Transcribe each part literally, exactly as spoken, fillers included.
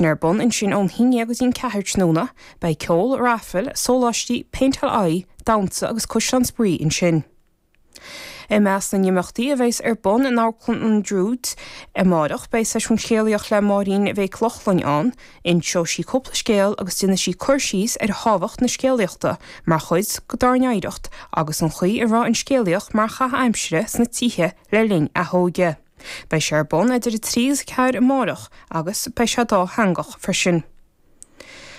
Ar bun ansin ón haon déag go dtí an ceathair tráthnóna, beidh ceol, raifil, sóláistí, péinteáil aghaidhe, damhsa agus cuisleán spraoi ansin. I measc na n-imeachtaí a bheas ar bun in Amharclann an Druid amárach beidh seisiún scéalaíochta le Máirín Mhic Lochlainn ann, inseoidh sí cúpla scéal agus déanfaidh sí cur síos ar thábhacht na scéalaíochta mar chuid dár n-oidhreacht agus an chaoi a raibh an scéalaíocht mar chaitheamh aimsire sna tithe le linn a hóige. Beidh sé ar bun idir a trí agus a ceathair amárach agus beidh sé dátheangach freisin.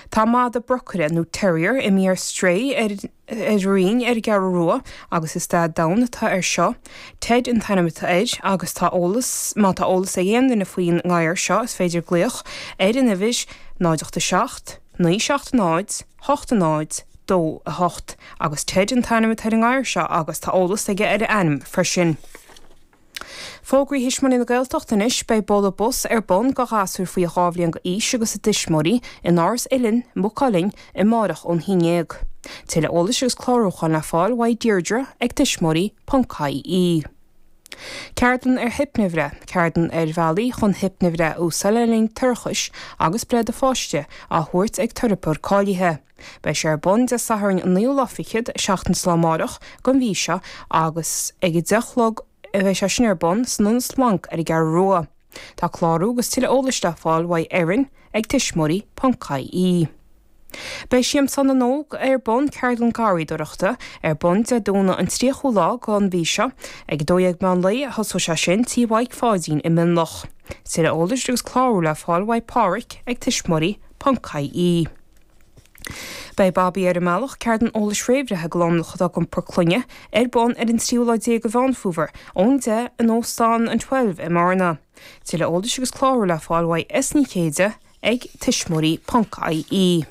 Tá mada brocaire nó terrier imithe ar strae ar ar Rinn ar an gCeathrú Rua agus is dath donn atá air seo. Ted an t-ainm atá air agus tá eolas má tá eolas ag aon duine faoin ngadhar seo is féidir glaoch ar an uimhir náid ocht a seacht, naoi seacht náid, hocht náid, dó a hocht agus Ted an t-ainm atá ar an ngadhar seo agus tá eolas aige ar a ainm freisin. Fógraí Thuismitheoirí na Gaeltachta anois beidh bualadh bos ar bun do ghasúir faoi dhá bhliain d'aois agus a dtuismitheoirí in Áras Uilinn, Maigh Cuilinn, amárach ón haon déag. Tuilleadh eolais agus clárúcháin le fáil uaidh Deirdre ag tuismitheoirí ponc ie. Ceardlann ar hipnibhreith, ceardlann ar bhealaí chun hipnibhreith a úsáid le linn toirchis agus breith do pháiste á thabhairt ag teiripeoir cáilithe. Beidh sé ar bun Dé Sathairn an naoú lá fichead seachtain is lá amárach den mhí seo agus ag a deich a chlog a bheidh sé sin ar bun san Ionad Splanc ar an gCeathrú Rua. Tá clárú agus tuilleadh eolais le fáil uaidh Erin ag tuismitheoirí ponc ie. Beidh Siamsán na nÓg ar bun ceardlann garraíodóireachta ar bun Dé Domhnaigh an tríochú lá den mhí seo ag dó dhéag meán lae a thosóidh sé sin tí Mhaidhc Pháidín i Mionlach. Tuilleadh eolais agus clárú le fáil uaidh Páraic ag tuismitheoirí ponc ie. Beidh Babaí ar an mbealach ceardlann eolais réamhbhreithe do lánúineacha atá ag iompar clainne ar bun ar an tríú lá déag de Mheán Fómhair ón deich in Óstán an Twelve i mBearna. Tuilleadh eolais agus clárú le fáil uaidh S Ní Chéide ag tuismitheoirí ponc ie.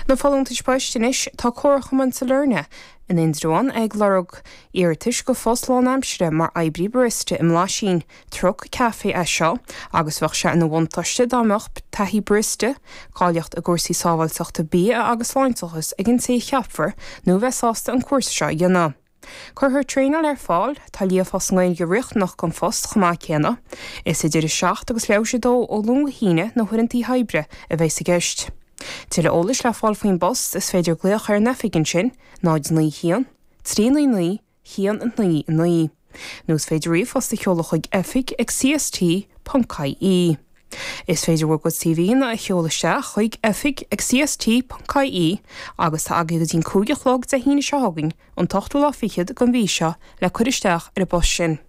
Na folúntais poist anois tá Comharchumann Sailearna in Indreabhán ag lorg iarratais go phost lánaimseartha mar oibrí barista i mBlaisín, truc caife é seo agus bheadh sé ina bhuntáiste dá mbeadh taithí barista, cáilíocht i gcúrsaí sábháilteachta bia agus sláinteachas ag an té a cheapfar nó bheith sásta an cúrsa seo a dhéanamh. Cuirfear traenáil ar fáil, tá líofa sa nGaeilge riachtanach don phost chomh maith céanna. Is idir a seacht agus leathuair tar éis a dó ó Luan go hAoine na huaireanta oibre a bheidh i gceist. Tuilleadh eolais le fáil faoin bpost is féidir glaoch ar an oifig ansin, náid naoi haon, trí naoi naoi, haon a naoi a naoi. Nó is féidir ríomhphost a sheoladh chuig oifig ag cst ponc ie. Is féidir bhur gcuid CVanna a sheoladh isteach chuig oifig ag cst ponc ie agus tá agaibh go dtí an cúig a chlog Dé hAoine seo chugainn an t-ochtú lá fichead den mhí seo le cur isteach ar an bpost sin.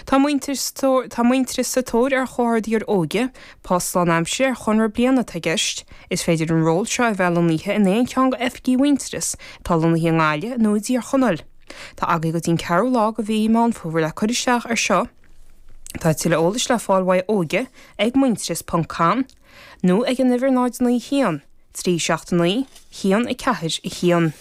Tá Muintearas tá Muintearas sa tóir ar chomhordaitheoir óige, post lánaimseartha ar chonradh bliana atá i gceist. Is féidir an ról seo a bheith lonnaithe in aon cheann d'oifigí Mhuintearas atá lonnaithe i nGaillimh nó i dTír Chonaill. Tá agaibh go dtí an ceathrú lá de mhí Meán Fómhair le cur isteach ar seo. Tá tuilleadh eolais le fáil uaidh óige ag muintearas ponc com nó ag an uimhir náid naoi haon, trí seacht naoi, haon a ceathair a haon.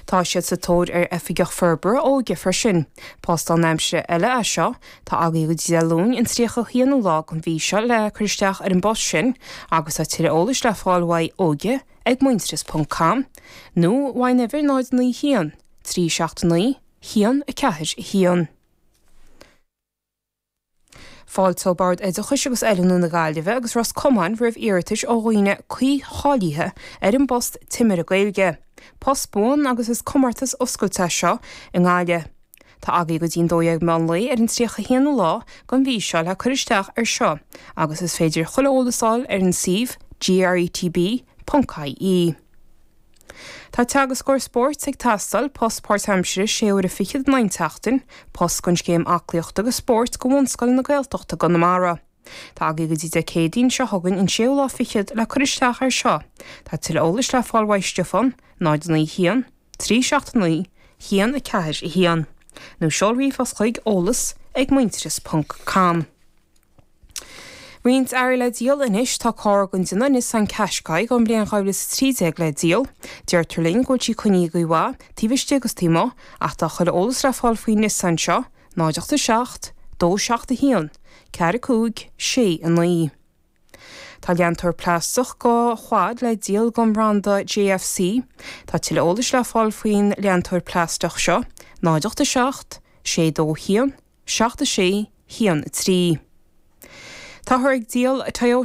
Tá siad sa tóir ar oifigeach forbartha óige freisin. Post lánaimseartha eile é seo, tá agaibh go dtí Dé Luain an tríocha haonú lá den mhí seo le cur isteach ar an bpost sin agus tá tuilleadh eolais le fáil uaidh óige ag muintearas ponc com nó uaidh an uimhir náid naoi haon, trí seacht naoi, haon a ceathair a haon. Fáilteoidh Bord Oideachais agus Oiliúna na Gaillimhe agus Ros Comáin roimh iarratais ó dhaoine cuí-cháilithe ar an bpost Timire Gaeilge. Post buan agus is comórtas oscailte é seo i nGaillimh. Tá agaibh go dtí an dó dhéag meán lae ar an tríocha haonú lá den mhí seo le cur isteach ar seo agus is féidir chuile eolas a fháil ar an suíomh gretb ponc ie. Tá teagascóir spóirt ag teastáil, post páirtaimseartha sé uaire fichead in aghaidh an tseachtain, post don scéim aclaíochta agus spóirt do bhunscoileanna Gaeltachta i gConamara. Tá agaibh go dtí Dé Céadaoin seo chugainn an séú lá fichead le cur isteach ar seo. Tá tuilleadh eolais le fáil uaidh Stiofán, náid naoi haon, trí seacht naoi, haon a ceathair a haon. Nó seol ríomhphost chuig eolas ag muintearas ponc com. Roinnt earraí le díol anois, tá carr den déanamh Nissan Qashqai den bhliain dhá mhíle is a trí déag le díol. Deirtear linn go bhfuil sí coinnithe go maith, taobh istigh agus taobh amuigh, ach tá chuile eolas le fáil faoin Nissan seo, náid ocht a seacht, dó seacht a haon, ceathair a cúig, sé a naoi. Tá leantóir plaisteach do quad le díol den bhranda JFC. Tá tuilleadh eolais le fáil faoin leantóir plaisteach seo, náid ocht a seacht, sé dó haon, seacht a sé, haon a trí. Táthar ag díol Toyota